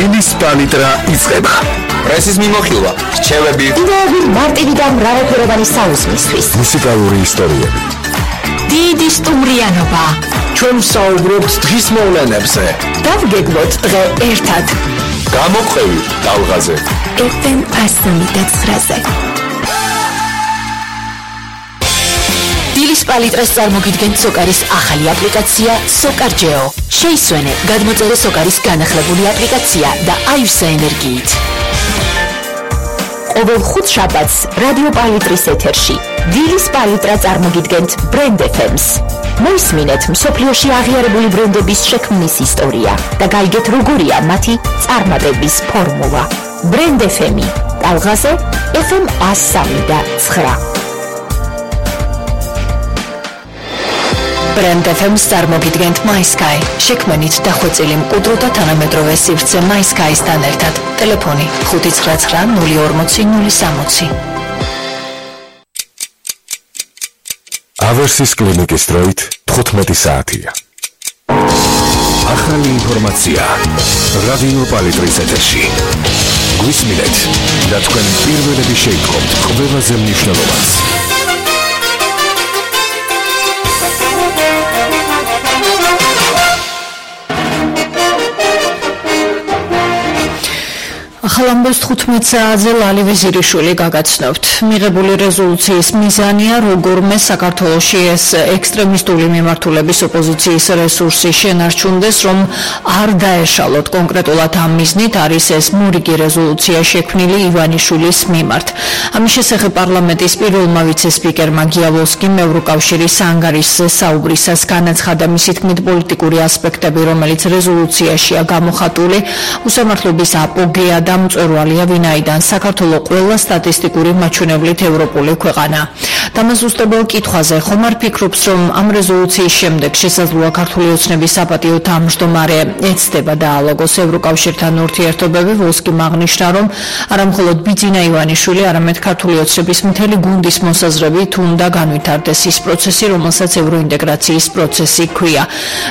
დილის პალიტრა იწყება. პრესის მიმოხილვა, რჩევები, მარტივი და მრავალფეროვანი საუზმისთვის. მუსიკალური ისტორიები. დიდი სტუმრიანობა. ჩვენ ვსაუბრობთ დღის მოვლენებზე. დავგეგმოთ დღე ერთად. გამოყვევი ტალღაზე. FM 109-ზე. დილის პალიტრას წარმოგიდგენთ სოკარის ახალი აპლიკაცია SOCARGEO. შეისვენე, გადმოწერე სოკარის განახლებული აპლიკაცია და აივსე ენერგიით. ყოველ ხუთშაბათს რადიო პალიტრის ეთერში დილის პალიტრა წარმოგიდგენთ ბრენდ FM-ს. მოისმინეთ მსოფლიოში აღიარებული ბრენდების შექმნის ისტორია და გაიგეთ როგორია მათი წარმატების ფორმულა. ბრენდ FM-ი ტალღაზე FM 103.9. ბრენდ FM-ს წარმოგიდგენთ MySky. შექმნით დახვეწილი მყუდრო და თანამედროვე სივრცე MySky-სთან ერთად. ტელეფონი 599-040-060. ავერსის კლინიკის დროით 15 საათია. ახალი ინფორმაცია რადიო პალიტრის ეთერში. გვისმინეთ და თქვენ პირველები შეიტყობთ ყველაზე მნიშვნელოვანს. ახალამბოს 15 საათზე ლალი ვეზირიშვილი გაგაცნობთ. მიღებული რეზოლუციის მიზანია როგორმე საქართველოში ეს ექსტრემისტული მიმართულების ოპოზიციის რესურსი შენარჩუნდეს, რომ არ დაეშალოთ. კონკრეტულად ამ მიზნით არის ეს მორიგი რეზოლუცია შექმნილი ივანიშვილის მიმართ. ამის შესახებ პარლამენტის პირველმა ვიცე-სპიკერმა გიავოსკიმ ევროკავშირის ანგარიშზე საუბრისას განაცხადა მისი თქმით პოლიტიკური ასპექტები, რომელიც რეზოლუციაშია გამოხატული, უსამართლობის აპოგეა და მწვერვალია, ვინაიდან საქართველო ყველა სტატისტიკური მაჩვენებლით ევროპული ქვეყანა. დამაზუსტებელ კითხვაზე ხომ არ ფიქრობს, რომ ამ რეზოლუციის შემდეგ შესაძლოა ქართული ოცნების საპატიო თავმჯდომარე ეცდება დაალოგოს ევროკავშირთან ურთიერთობები. ვოსკიმ აღნიშნა, რომ არა მხოლოდ ბიძინა ივანიშვილი, არამედ ქართული ოცნების მთელი გუნდის მოსაზრებით უნდა განვითარდეს ის პროცესი, რომელსაც ევროინტეგრაციის პროცესი ჰქვია.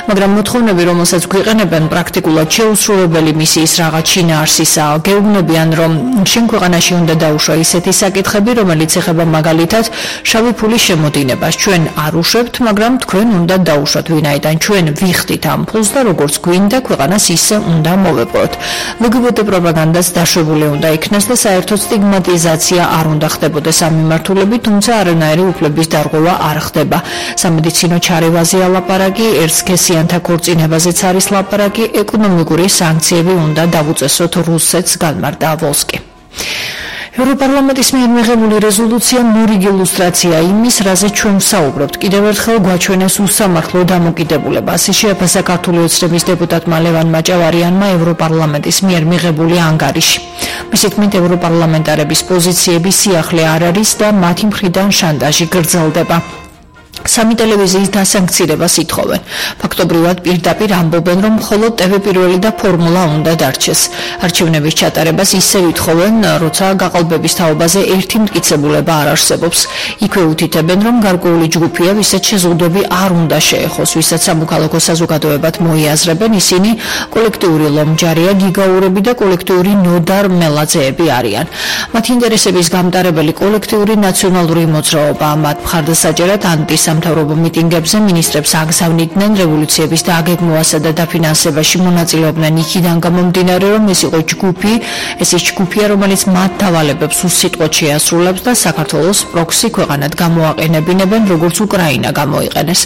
მაგრამ მოთხოვნები, რომელსაც გვიყენებენ, პრაქტიკულად შეუსრულებელი მისიის რაღაც შინაარსისაა. გეუბნებიან, რომ შენ ქვეყანაში უნდა დაუშვა ისეთი საკითხები, რომელიც ეხება მაგალითად შავი ფულის შემოდინებას. ჩვენ არ უშვებთ, მაგრამ თქვენ უნდა დაუშვათ, ვინაიდან ჩვენ ვიხდით ამ ფულს და როგორც გვინდა ქვეყანას ისე უნდა მოვეპყროთ. ლგბტ პროპაგანდას დაშვებული უნდა იქნას და საერთოდ სტიგმატიზაცია არ უნდა ხდებოდეს ამ მიმართულებით, თუმცა არანაირი უფლების დარღვევა არ ხდება. სამედიცინო ჩარევაზეა ლაპარაკი, ერთსქესიანთა ქორწინებაზეც არის ლაპარაკი, ეკონომიკური სანქციები უნდა დავუწესოთ რუსეთს, განმარტა ვოსკი. ევროპარლამენტის მიერ მიღებული რეზოლუცია მორიგი ილუსტრაცია იმის, რაზეც ჩვენ ვსაუბრობთ. კიდევ ერთხელ გვაჩვენეს უსამართლო დამოკიდებულება. ასე შეაფასა ქართული ოცნების დეპუტატმა ლევან მაჭავარიანმა ევროპარლამენტის მიერ მიღებული ანგარიში. მისი თქმით, ევროპარლამენტარების პოზიციების სიახლე არ არის და მათი მხრიდან შანტაჟი გრძელდება. სამი ტელევიზიის დასანქცირებას ითხოვენ. ფაქტობრივად პირდაპირ ამბობენ, რომ მხოლოდ TV პირველი და ფორმულა უნდა დარჩეს. არჩევნების ჩატარებას ისევ ითხოვენ, როცა გაყალბების თაობაზე ერთი მტკიცებულება არ არსებობს. იქვე უთითებენ, რომ გარკვეული ჯგუფია, ვისაც შეზღუდვები არ უნდა შეეხოს, ვისაც სამოქალაქო საზოგადოებად მოიაზრებენ, ისინი კოლექტიური ლომჯარია, გიგაურები და კოლექტიური ნოდარ მელაძეები არიან. მათი ინტერესების გამტარებელი კოლექტიური ნაციონალური მოძრაობა მათ მხარდასაჭერად სამთავრობო მიტინგებზე მინისტრებს აგზავნიდნენ რევოლუციების დაგეგმვასა და დაფინანსებაში მონაწილეობდნენ იქიდან გამომდინარე, რომ ეს იყო ჯგუფი, ეს ის ჯგუფია, რომელიც მათ დავალებებს უსიტყვოდ შეასრულებს და საქართველოს პროქსი ქვეყანად გამოაყენებინებენ, როგორც უკრაინა გამოიყენეს.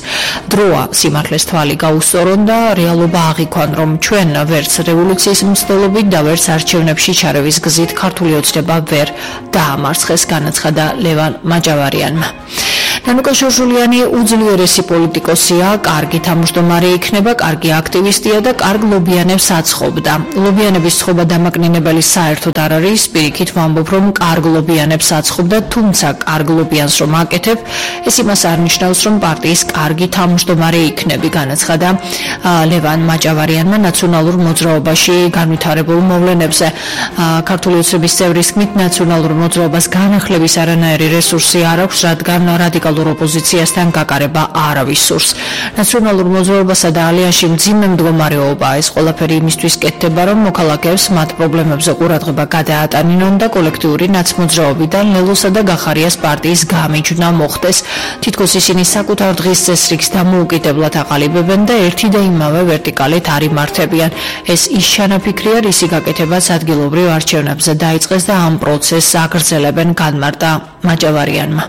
დროა სიმართლეს თვალი გაუსწორონ და რეალობა აღიქვან, რომ ჩვენ ვერც რევოლუციის მცდელობით და ვერც არჩევნებში ჩარევის გზით ქართული ოცნება ვერ დაამარცხეს, განაცხადა ლევან მაჭავარიანმა. ნანუკა შორშულიანი უძლიერესი პოლიტიკოსია, კარგი თავმჯდომარე იქნება, კარგი აქტივისტია და კარგ ლობიანებს აცხობდა. ლობიანების ცხობა დამაკნინებელი საერთოდ არ არის, პირიქით ვამბობ, რომ კარგ ლობიანებს აცხობდა, თუმცა კარგ ლობიანს რომ აკეთებ, ეს იმას არ ნიშნავს, რომ პარტიის კარგი თავმჯდომარე იქნები, განაცხადა ლევან მაჭავარიანმა ნაციონალურ მოძრაობაში განვითარებულ მოვლენებზე. ქართული ოცნების წევრის თქმით, ნაციონალურ მოძრაობას განახლების არანაირი რესურსი არ აქვს, რადგან რადიკალურ ოფიციალურ ოპოზიციასთან გაკარება არავის სურს. ნაციონალურ მოძრაობასა და ალიანსში მძიმე მდგომარეობაა. ეს ყველაფერი იმისთვის კეთდება, რომ მოქალაქეებს მათ პრობლემებზე ყურადღება გადაატანინონ და კოლექტიური ნაცმოძრაობიდან ლელოსა და გახარიას პარტიის გამიჯვნა მოხდეს. თითქოს ისინი საკუთარ დღის წესრიგს დამოუკიდებლად აყალიბებენ და ერთი და იმავე ვერტიკალით არ იმართებიან. ეს ის ჩანაფიქრია, რისი გაკეთებაც ადგილობრივ არჩევნებზე დაიწყეს და ამ პროცესს აგრძელებენ, განმარტა მაჯავარიანმა.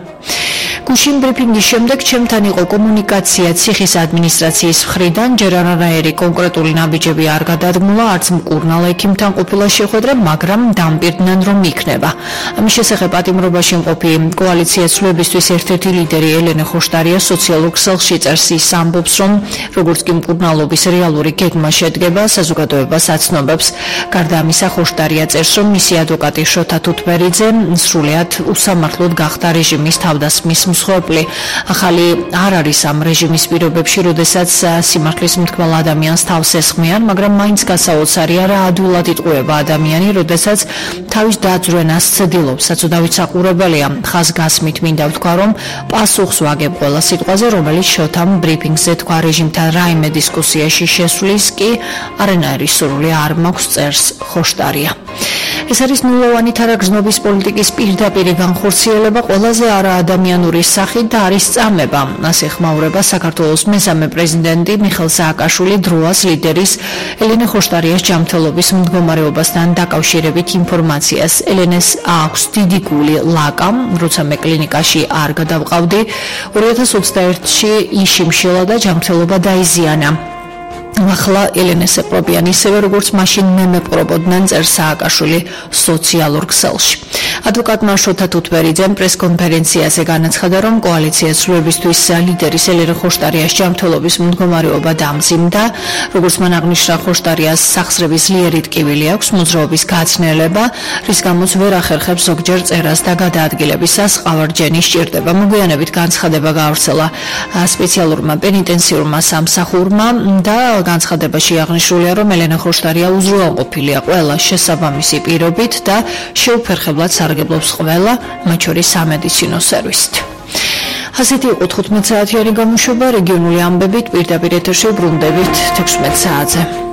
გუშინ ბრიფინგის შემდეგ ჩემთან იყო კომუნიკაცია ციხის ადმინისტრაციის მხრიდან, ჯერ არანაირი კონკრეტული ნაბიჯები არ გადადგმულა, არც მკურნალ ექიმთან ყოფილა შეხვედრა, მაგრამ დამპირდნენ, რომ იქნება. ამის შესახებ პატიმრობაში მყოფი კოალიცია ცვლილებისთვის ერთ-ერთი ლიდერი ელენე ხოშტარია სოციალურ ქსელში წერს, ის ამბობს, რომ როგორც კი მკურნალობის რეალური გეგმა შედგება, საზოგადოებას აცნობებს. გარდა ამისა, ხოშტარია წერს, რომ მისი ადვოკატი შოთა თუთბერიძე სრულიად უსამართლოდ გახდა რეჟიმის თავდასხმის მსხვერპლი. ახალი არ არის ამ რეჟიმის პირობებში, როდესაც სიმართლის მთქმელ ადამიანს თავს ესხმიან, მაგრამ მაინც გასაოცარია, რა ადვილად იტყუება ადამიანი, როდესაც თავის დაძვრენას ცდილობს. საწოდავით საყურებელია. ხაზგასმით მინდა ვთქვა, რომ პასუხს ვაგებ ყველა სიტყვაზე, რომელიც შოთამ ბრიფინგზე თქვა. რეჟიმთან რაიმე დისკუსიაში შესვლის კი არანაირი სურვილი არ მაქვს, წერს ხოშტარია. ეს არის ნულოვანი თარაგზნობის პოლიტიკის პირდაპირი განხორციელება ყველაზე არაადამიანური სახით და არის წამება. ასე ხმაურება საქართველოს მესამე პრეზიდენტი მიხეილ სააკაშვილი დროას ლიდერის ელენე ხოშტარიას ჯანმრთელობის მდგომარეობასთან დაკავშირებით ინფორმაციას. ელენეს აქვს დიდი გული ლაკა, როცა მე კლინიკაში არ გადავყავდი, 2021-ში იშიმშილა და ჯანმრთელობა დაიზიანა. ახლა ელენეს ეპყრობიან ისევე, როგორც მაშინ მე მეპყრობოდნენ, წერს სააკაშვილი სოციალურ ქსელში. ადვოკატმა შოთა თუთბერიძემ პრესკონფერენციაზე განაცხადა, რომ კოალიცია ცვლილებისთვის ლიდერის ელენე ხოშტარიას ჯანმრთელობის მდგომარეობა დამძიმდა. როგორც მან აღნიშნა, ხოშტარიას სახსრების ძლიერი ტკივილი აქვს, მოძრაობის გაცნელება, რის გამოც ვერ ახერხებს ზოგჯერ წერას და გადაადგილებისას ყავარჯენი სჭირდება. მოგვიანებით განცხადება გაავრცელა სპეციალურმა პენიტენციურმა სამსახურმა და განცხადებაში აღნიშნულია, რომ ელენე ხოშტარია უზრუნველყოფილია ყველა შესაბამისი პირობით და შეუფერხებლად სარგებლობს ყველა, მათ შორის სამედიცინო სერვისით. ასეთი იყო 15 საათიანი გამოშვება, რეგიონული ამბებით პირდაპირ ეთერში ბრუნდებით 16 საათზე.